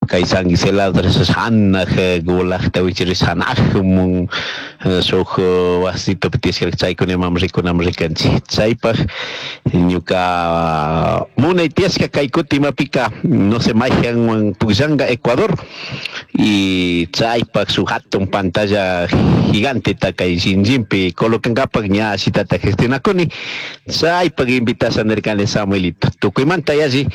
Kay San Gisela hanaq gulaqta wichirisha hanaqmun shuk wasitupi tiyashkarka chaykunaman rikunaman rikanchik. Chaypaq ñuka munay tiyashka kay kuti imapika no sé mayhanwan pukllanka Ecuador y chaypaq shuk hatun pantalla giganteta kay shinllinpi colocankapak ña ashitata gestionakuni. Chaypaq invitasha nirkani Samuelito. Tukuymanta yalli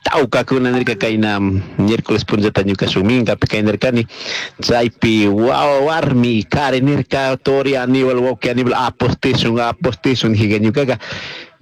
tawkakuna nirka kayna miércoles punllata ñuka shuk minkapi kay nirkani. Chaypi wawa warmi kari nirka Tori Aníbal wawki Aníbal apostishun apostishun nijika ñukaka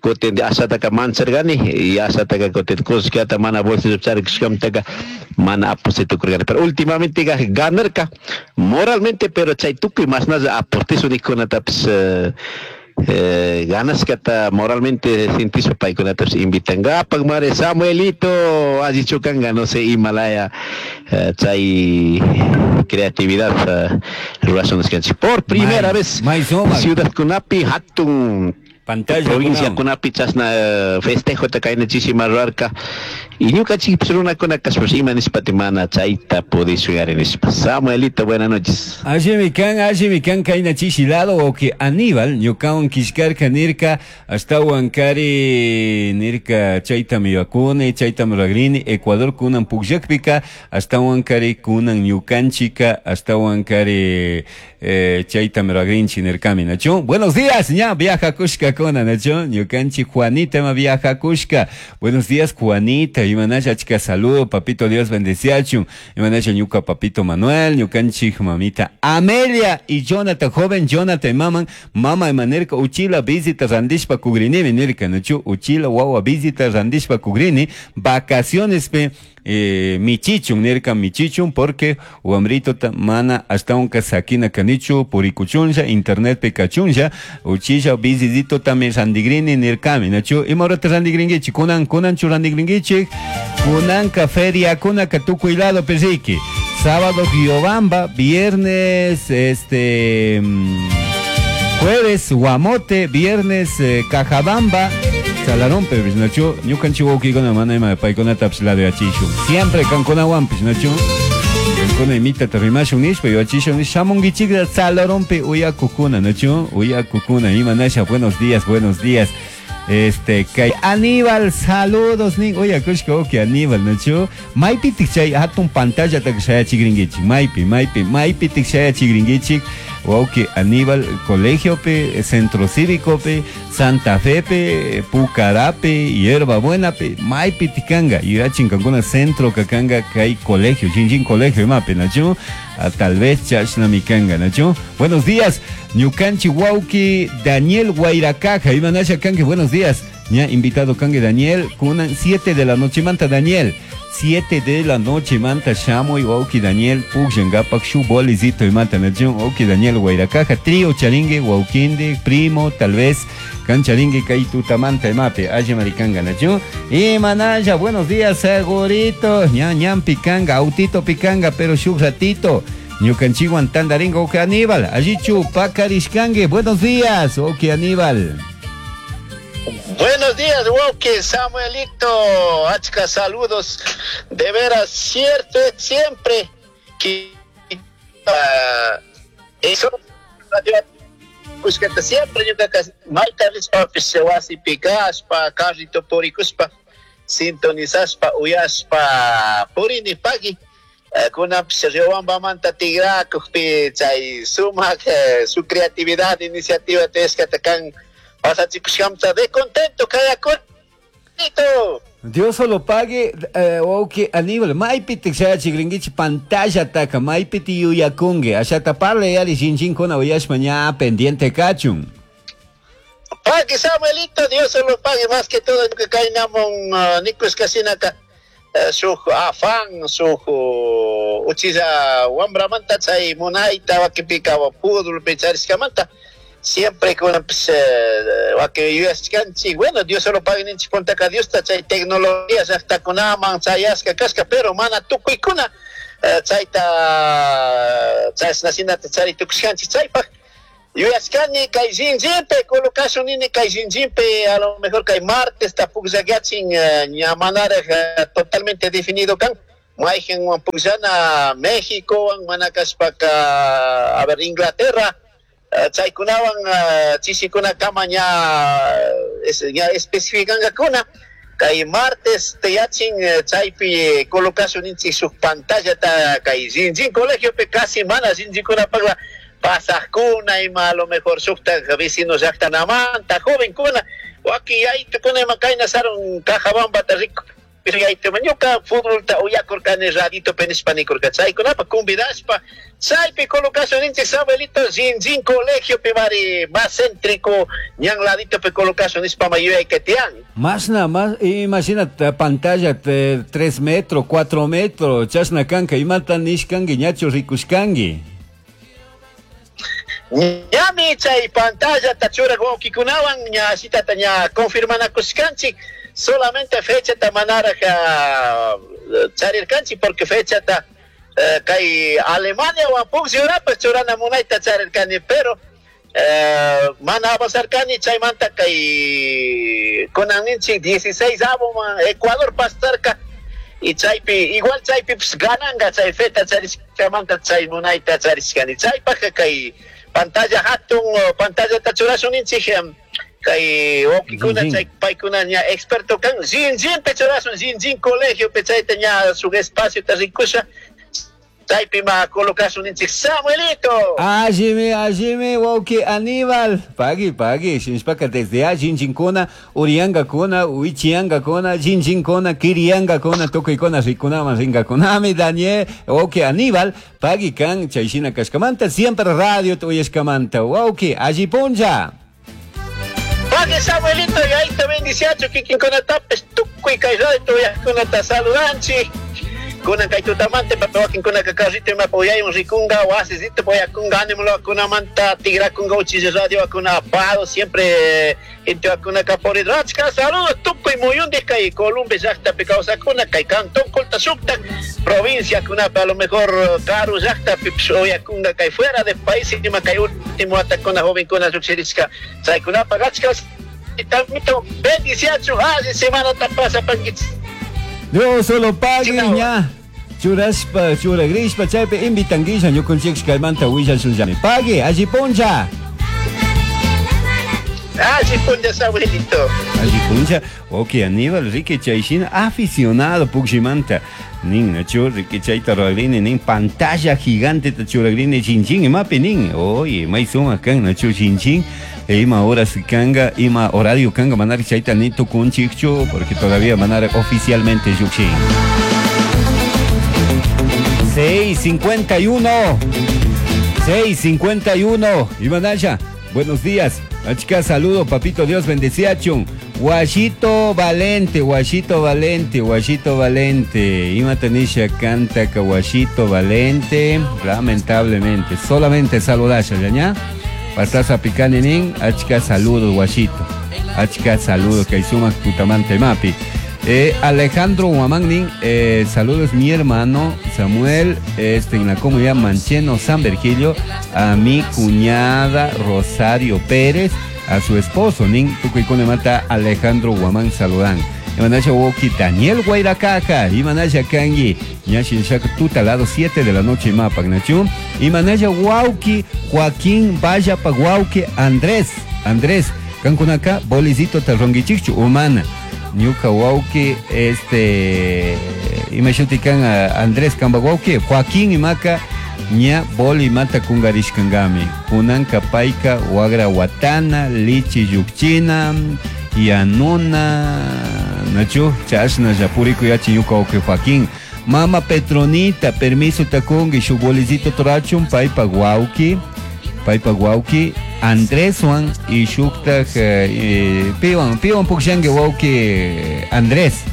kutin ashataka mancharkani y ashataka kutin kullkata mana bolsillopi charikushkamantaka mana aposti tukurkani. Pero últimamente ganarka moralmente, pero chay tukuy mashnalla apostishun nijkunatapish ganashkata moralmente sentishpa paykunatapish invitankapak mare Samuelito allichu kanka no sé imalaya chay creatividad rurashun nishkanchik. Por primera vez ciudadkunapi hatun Pantalla provinciakunapi chashna festejota kaynachishima rurarka y ñukanchikpish runakuna kashpash ima nishpati mana chayta pudishun nishpa. Samuelito, buenas noches. Allimi kan, allimi kan kayna chishi lado o que Aníbal ñukawan kishkarka nirka ashtawan kari nirka chaytami yuyakuni, chaytami ruragrini Ecuador kunan pukllakpika ashtawan kari kunan ñukanchika ashtawan kari chaytami ruragrinchi nirkami, nachu? Buenos días, ña viajakushkakuna, nachu? Ñukanchik Juanita ma viajakushka. Buenos días, Juanita. Imanasha achka saludo, papito Dios bendeciachun. Imanasha ñuka papito Manuel, ñukanchik mamita Amelia y Jonathan, joven Jonathan maman, mama imanirka uchila visita randishpa kugrinimi nirka, nachu? Uchila wawa visita randishpa kugrini, vacaciones pe michichun nirka michichun porque wamritota mana ashtawanka sakina kanichu purikuchunlla internetpi kachunlla uchilla visititotami randigrini nirkami, nachu? Ima horata randigrinkichik? Kunan, kunanchu randigrinkichik? Kunanka feriakunaka tukuy lado riki. Sábado Riobamba, viernes jueves Guamote, viernes Cajabamba, Salarompe, nachu? Ñukanchik wawkikuna mana ima paykunatapish lado yachishun. Siempre kankunawanpish, nachu? Kankuna imitata rimashun nishpa yachishun nishpa shamunkichikra Salarompe uyakukuna, nachu? Uyakukuna, imanasha, buenos días, buenos días. Kay Aníbal, saludos nin. Uyakushka wawki Aníbal, nachu? Maypitik chay hatun pantallata shayachikrinkichik? Maypi, maypi, maypitik shayachikrinkichik? Wawki Aníbal, colegiopi, centro cívicopi, Santa Fepi, Pucarapi, Hierba Buenapi, maypitik kanka? Yuyachin kankuna centro kanka kay colegio, chin colegio imapi, nachu? Tal vez chashnami kanka, nachu? Buenos días, ñukanchik wawki Daniel Guairacaja, imanasha kanki, buenos días. Ña invitado kanki Daniel, kunan 7 de la noche manta Daniel. 7 de la noche manta shamuy wawki Daniel pukllankapak shu bolizito imanta, nachu? Wawki Daniel Guairacaja, trío charingue, wawkindi, primo, tal vez kan charingue kay tutamanta imapi, alli maricanga, nachu? Imanalla, buenos días, segurito, ña ñan picanga, autito picanga, pero shuk ratito. Ñukanchikwan tandaringa, wawki Aníbal, allichu pakarishkanki, buenos días, wawki Aníbal. Buenos días, wawki Samuelito, achka saludos, de veras, cierto es siempre que eso, pues que te siempre ñuka mayta rishpapish wasipi kashpa, carrito purikuspa, sintonizashpa, uyashpa, purini pagui. Kunapish Riobambamanta tigrakukpi chay sumak su creatividad, iniciativa tiyashkata kan pasachikushkamta de contento kayakunito. Dios solo pague, wawki Aníbal, maypitik shayachikrinkichik pantallataka, maypiti yuyakunki, ashata parle yali shinchinkuna uyashpa ña pendiente kachun. Pague Samuelito, Dios solo pague, más que todo que kaynamon nikushkashinaka shuk afán, shuk uchilla wambramanta chay munayta wakipika fútbol charishkamanta siempre con pues, waki yuyashkanchik, bueno, Dios solo pague ninchik puntaka Diosta chay tecnología llaqtakunaman chayashka kashka, pero mana tukuykuna chayta chashnashinata chari tukushkanchik chaypaq yuyashkani kay shinllinpi colocashun nini kay shinllinpi a lo mejor kay martes tapuqllakachin ña manaraj totalmente definido kan. Mayqinwan pukllana Mexicowan mana kashpaka, a ver, Inglaterra, chaykunawan chishikunakama ña ña especificankakuna. Kay martes tiyachin chaypi colocashun ninchik shuk pantallata kay Shinjin colegiopi casi mana shinchikunapakla pasajkuna ima a lo mejor shuktak vecino llaktanamanta jovenkuna wakin yaytukuna ima kayna sarun Cajabambata riku yaytuma ñuka futbolta uyakurkani raditopi nishpa nikurka chaykunapak convidashpa chaypi colocashun ninchik Samuelito Shinjin colegiopi mari más céntrico ñan laditopi colocashun nishpa ma yuyayka tiyan. Mashna, mas, imagínate, pantalla 3 metros, 4 metros, chashna kanka, imata nishkanki, ñachu rikushkanki. Ñami chay pantallata churak wawkikunawan ña ashitata ña confirmanakushkanchik, solamente fechata manaraj charirkanchik porque fechata kay Alemaniawan pukllurapak churana munayta charirkani, pero mana avanzarkani chaymanta kay kunan ninchik 16 aboman Ecuador pasarka y chaypi igual chaypi pues, gananga chay feta charishkamanta chay munayta charishkani chaypajka kay pantalla hatun pantallata churashun ninchik kay wawkikuna chay paykuna ña experto kan Shinjinpi churashun Shinjin colegiopi chayta ña shuk espaciota rikusha chaypi ma colocashun ninchik Samuelito. Allimi, allimi, wawki Aníbal. Pagui, pagui, shinshpaka desde a Shinjinkuna, Uriangakuna, Wichiangakuna, Shinjinkuna, Kiriangakuna, tukuykuna rikunaman ringakunami, Daniel, wawki Aníbal, pagui kan chayshina kashkamanta, siempre radio tuyashkamanta, wawki, alli puncha. Pagui Samuelito, y ahí te bendiciacho, kikinkunatapis, tukuy kay radio tuyashkunata saludanchik. Kunan kay tutamante papa wakinkunaka carrito ima puyaywan rikunga wasisito puyakunga ánimo wakunamanta tigrakunga uchilla radio wakuna apado siempre gente wakunaka puridrachka saludos tukuy muyundik kay Colombia llaqtapi kawsakuna kay cantón Colta shuktak provincia kunapa a lo mejor karu llaqtapi uyakunga kay fuera del país ima kay último watakuna jovenkuna lluqshirishka chaykunapa achka bendiciachu alli semanata pasapankichik. Dios solo pague ña. Churashpa, churagrishpa, chaypi invitanguisha ñukunchik kaymanta willashunllami. Pague, alli puncha. Alli puncha, Samuelito. Alli puncha. Ok, Aníbal, Ricky chayshina, aficionado pukshimanta. Nin, nachu, Ricky chayta ruragrini, nin, pantalla gigante ta churagrini, chinchin, imapi nin. Oye, may suma kan, nachu, chinchin. Ima horas kanga, ima horario kanga, manari chayta ni tukunchikchu, porque todavía manari oficialmente yukshin. 6:51. 6:51. Imanasha, buenos días. Achka, saludo, papito Dios, bendeciachun. Guachito Valente, Guachito Valente, Guachito Valente. Ima tenisha canta ka Guachito Valente. Lamentablemente, solamente saludasha, ¿ya? Pasas a picaninin, achka saludo, Guachito. Achka saludo, que suma tutamante mapi. Alejandro Guamán, saludos mi hermano Samuel, en la comunidad Mancheno San Virgilio, a mi cuñada Rosario Pérez, a su esposo, nin tukuikune mata Alejandro Guamán saludan. Imanasha Woki Daniel Guairacaca, Imanasha Kangi, Ñashin Shak Tuta, lado 7 de la noche, Mapak Nachu, Imanasha Wauki, Joaquín Vaya Paguauki, Andrés, Andrés, Kankunaka, Bolicito Tarronguichichu, Humana. Ñuka wauki, imashutikan Andrés Kamba wauki, Joaquín imaka, ña boli mata kungarishkangami. Kunanka paika, wagra watana, lichi yukchina, yanuna, nachu, chashna yapuriku yachi ñuka wauki Joaquín. Mama Petronita, permiso takungi, shu bolicito torachun, paipa wauki, paipa wauki, Andrés Juan y shuktak, piwan, piwan pukshangi wauki Andrés.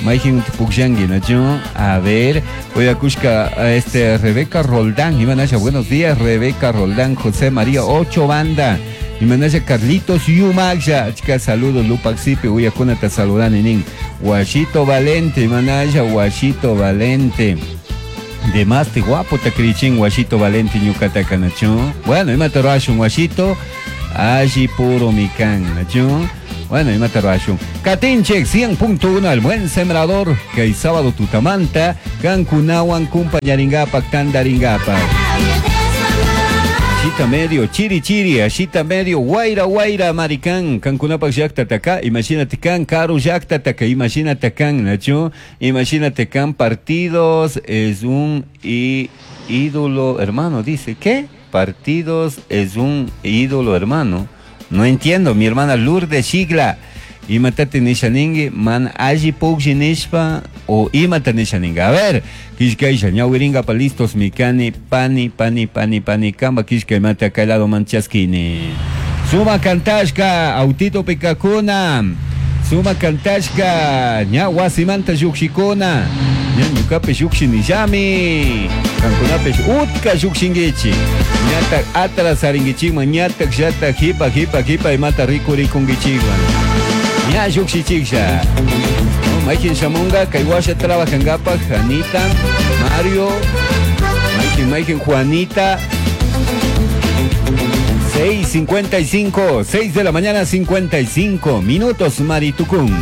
Maijin pukshangi, nachu. A ver, voy a kushka, Rebeca Roldán, Imanasha, buenos días, Rebeca Roldán, José María Ocho Banda, Imanasha Carlitos Yumaxa, chica, saludos, Lupaxipi, Uyacuna te saludan, ninin. Guachito Valente, Imanasha, Guachito Valente. De más te guapo te crichin, Guachito Valente, ñucataca, nachu. Bueno, imatarashun, Guachito, allí puro mican, nachu. Bueno, imata rurashun. Katinchik 100.1 el buen sembrador kay sábado tutamanta kankunawan kumpañaringapak tandaringapak. Ashita medio, chiri chiri, ashita medio, guaira guaira, maricán, kankunapak llaktataka, imagínate kan, karu llaktataka, imagínate kan, Nacho, imagínate kan, partidos es un ídolo, hermano, dice, ¿qué? Partidos es un ídolo, hermano. No entiendo, mi hermana Lourdes Shigla. Imatate nishaningi, man alli pugshi nishpa o imata nishaningi. A ver, kishkaisha, ñawiringa pa listos mikani, pani, pani, pani, pani, kamba kishka imata acá lado manchaskini. Suma kantashka, autito pikakuna. Suma kantashka, ña wasimanta llukshikuna. Ña ñukapish llukshi. Kankunapish utka llukshinkichik. Ñatak atrasarinkichikman, ñatak llatak hipa, hipa, hipa imata rikurikunkichikman. Ña llukshichiklla. No, maykin shamunga, kay washa trabajangapak, Janita, Mario, maykin, maykin, Juanita. 6:55, 6 de la mañana, 55 minutos, Maritucún.